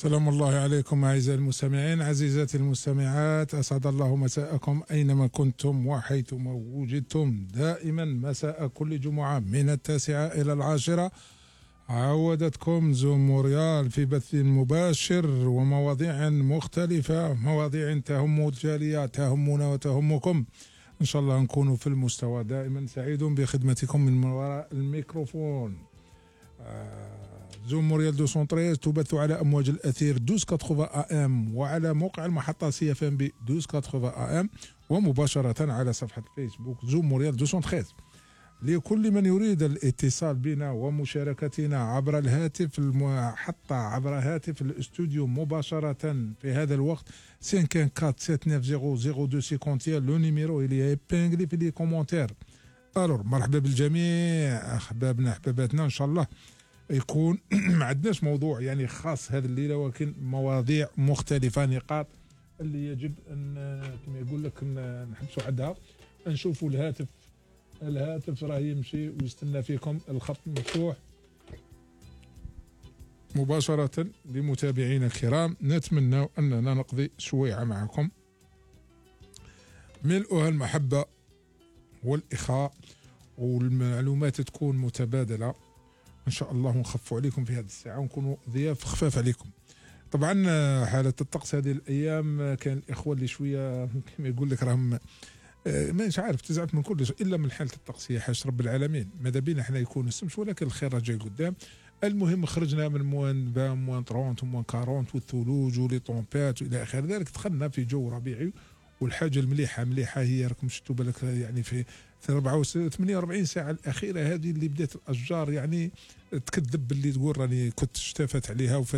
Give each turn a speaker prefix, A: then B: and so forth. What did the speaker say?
A: سلام الله عليكم أعزائي المستمعين، عزيزاتي المستمعات، أسعد الله مساءكم أينما كنتم وحيثما وجدتم. دائما مساء كل جمعة من 9 إلى 10 عودتكم زوم موريال في بث مباشر ومواضيع مختلفة، مواضيع تهم الجالية، تهمنا وتهمكم. إن شاء الله نكون في المستوى. دائما سعيد بخدمتكم من وراء الميكروفون. زوم موريال 213 تبث على أمواج الأثير 1280 AM وعلى موقع المحطة CFM ب 1280 AM ومباشرة على صفحة فيسبوك زوم موريال 213. لكل من يريد الاتصال بنا ومشاركتنا عبر الهاتف المحطة، عبر هاتف الاستوديو مباشرة في هذا الوقت 547900251. لو نيميرو اللي ابينغلي في لي كومونتير. الور مرحبا بالجميع احبابنا احباباتنا. ان شاء الله يكون ما عندناش موضوع يعني خاص هذه الليله، ولكن مواضيع مختلفه، نقاط اللي يجب ان كما يقول لك نحبسوا عندها. نشوفوا الهاتف راه يمشي ويستنى فيكم، الخط مفتوح مباشره لمتابعينا الكرام. نتمنى اننا نقضي شويعه معكم ملؤها المحبه والاخاء، والمعلومات تكون متبادله ان شاء الله، ونخفوا عليكم في هذه الساعه ونكونوا ضياف خفاف عليكم. طبعا حاله الطقس هذه الايام كان الاخوه اللي شويه كما يقول لك راهم مش عارف تزعف من كل شيء الا من حاله الطقس. هي حاجه رب العالمين، ماذا بينا احنا يكون السمش، ولكن الخير جاي قدام. المهم خرجنا من موان 20 موان 30 موان 40 والثلوج ولي طومبات والى اخر ذلك، دخلنا في جو ربيعي. والحاجه المليحه هي راكم شفتوا بالك يعني في 48 ساعه الاخيره هذه اللي بدات الاشجار يعني تكذب باللي تقول راني كنت اشتفت عليها